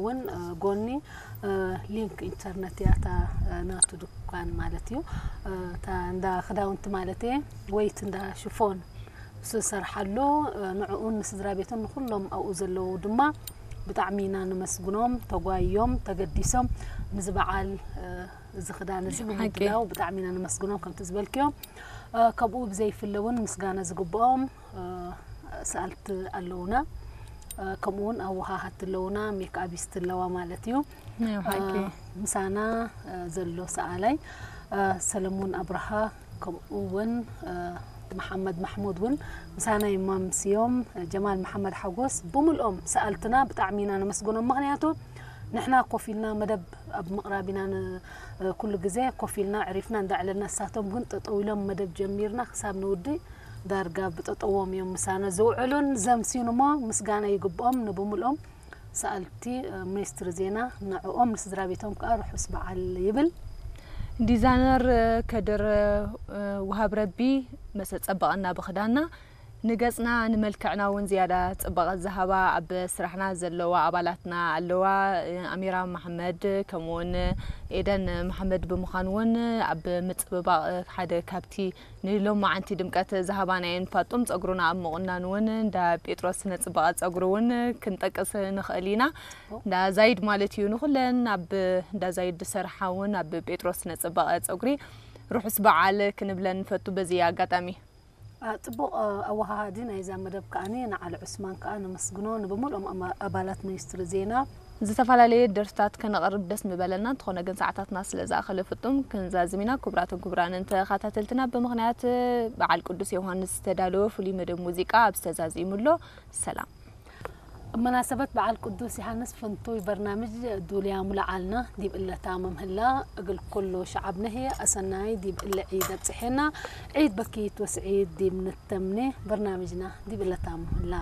እውን ጎኒ ሊንክ ኢንተርነት እያ እታ ናቱ ድኳን ማለት እዩ። እታ እንዳ ክዳውንቲ ማለት እየ ወይት እንዳ ሽፎን እሱ ዝሰርሓሉ ንዕኡን ንስድራ ቤቱን ንኩሎም ኣብኡ ዘለዉ ድማ ብጣዕሚ ኢና ንመስግኖም። ተጓዮም ተገዲሶም ንዚ በዓል እዚ ክዳን እዚ ብምድላው ብጣዕሚ ኢና ንመስግኖም። ከምቲ ዝበልክዮም ከምኡ ብዘይፍለ እውን ምስጋና ዝግብኦም ሰኣልቲ ኣለውና። ከምኡ እውን ኣወሃሃቲ ኣለውና፣ ሜክኣቢስት ኣለዋ ማለት እዩ። ምሳና ዘሎ ሰኣላይ ሰለሙን ኣብርሃ ከምኡ እውን መሓመድ ማሕሙድ እውን ምሳና ይማምስዮም። ጀማል መሓመድ ሓጎስ ብምልኦም ሰኣልትና ብጣዕሚ ኢና ነመስግኖም። ምክንያቱ ንሕና ኮፍ ኢልና መደብ ኣብ ምቕራብ ኢና ኩሉ ግዜ ኮፍ ኢልና ዕሪፍና እንዳዕለልና፣ እሳቶም ግን ጠጠው ኢሎም መደብ ጀሚርና ክሳብ ንውዲ ዳርጋ ብጠጠዎም እዮም ምሳና ዝውዕሉን ዘምስዩን እሞ ምስጋና ይግብኦም ንብምልኦም ሰኣልቲ ሚኒስትሪ ዜና ንዕኦም ንስድራ ቤቶም ከዓ ርሑስ በዓል ይብል። ዲዛይነር ከድር ውሃብ ረቢ መሰ ጸበቐና ብክዳና ንገጽና ንመልክዕና እውን ዝያዳ ጽባቐ ዝሃባ ኣብ ስራሕና ዘለዋ ኣባላትና ኣለዋ። ኣሚራ መሓመድ ከምኡውን ኤደን መሓመድ ብምዃን እውን ኣብ ምጽብባቕ ሓደ ካብቲ ንሎማዓንቲ ድምቀት ዝሃባናየን ፋጡም ጸጉሩና ኣብ ምቑናን እውን እንዳ ጴጥሮስ ስነ ጽባቐ ጸጉሪ እውን ክንጠቅስ ንኽእል ኢና። እንዳ ዛይድ ማለት እዩ። ንኹለን ኣብ እንዳ ዛይድ ዝሰርሓ እውን ኣብ ጴጥሮስ ስነ ጽባቐ ጸጉሪ ርሑስ በዓል ክንብለን ንፈቱ በዚ ኣጋጣሚ። ጽቡቕ ኣወሃሃዲ ናይዛ መደብ ከኣኒ ንዓሊ ዑስማን ከኣ ነመስግኖ፣ ንብምልኦም ኣባላት ሚኒስትሪ ዜና። ዝተፈላለየ ደርፍታት ከነቕርብ ደስ ምበለና፣ እንተኾነ ግን ሰዓታትና ስለ ዝኣኸለ ፍጡም ክንዛዝም ኢና። ክቡራትን ክቡራንን ተኸታተልትና፣ ብምኽንያት በዓል ቅዱስ ዮሃንስ ዝተዳለወ ፍሉይ መደብ ሙዚቃ ኣብ ዝተዛዚሙ ኣሎ። ሰላም። ብመናሰበት በዓል ቅዱስ ዮሃንስ ፍንቱይ በርናምጅ ዱልያ ሙላዓልና ዲብ እለ ታመም ህላ፣ እግል ኩሉ ሸዓብ ነህየ ኣሰናይ ዲብ እለ ዒድ ኣብጽሔና፣ ዒድ በኪት ወስዒድ ዲብ ንተምኔ በርናምጅና ዲብ እለ ታመም ህላ።